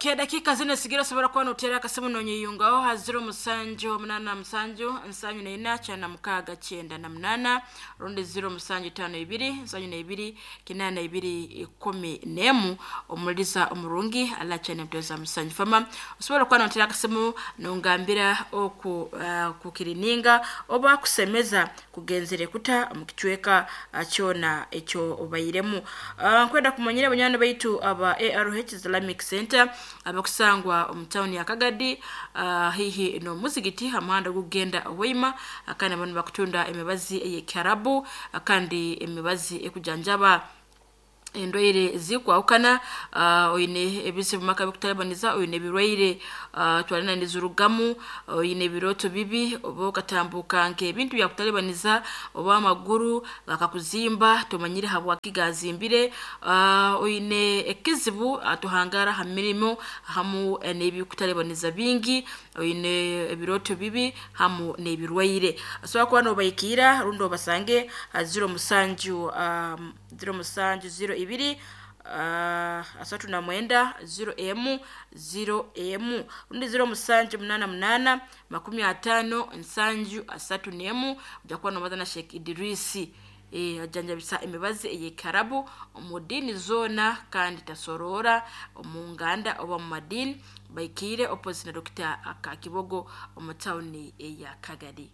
Okay, dakika zino sigira osobola kuba noteera akasimu nonyeyungaho ha 0787 74 96 98 rundi 0752 72 82 11 omuliza omurungi alachane mtoza musanju fama osobola kuba noteera akasimu nongambira oku kukirininga oba kusemeza kugenzere kuta mu kicweka kyona ekyo obairemu. Nkwenda kumanyira abanywani baitu aba ARH Islamic Center abakusangwa omu town ya Kagadi, haihi n'omuzigiti ha muhanda gugenda Hoima, kandi bano bakutunda emibazi ey'Ekiarabu kandi emibazi ekujanjaba endwaire zikwahukana. Oine ebizibu maka bikutalibaniza, oine ebirwaire twarina nizirugamu, oine ebirooto bibi oba okatambuka nk'ebintu byakutalibaniza oba amaguru gakakuzimba tomanyire habwaki gazimbire, oine ekizibu tohangara ha mirimo hamu n'ebikutalibaniza bingi, oine ebirooto bibi hamu n'ebirwaire, osobola kuba nobahikiira rundi obasange ha 07 07 02 39 0M 0M rundi 0788 50 7 31. Ojja kuba nobaza na Sheikh Idrisi, ajanjabisa emibazi ey'Ekiarabu omu diini zoona kandi tasoroora omu nganda oba mu madiini. Baikiire opposite na Dr. Kakibogo omu tawuni eya Kagadi.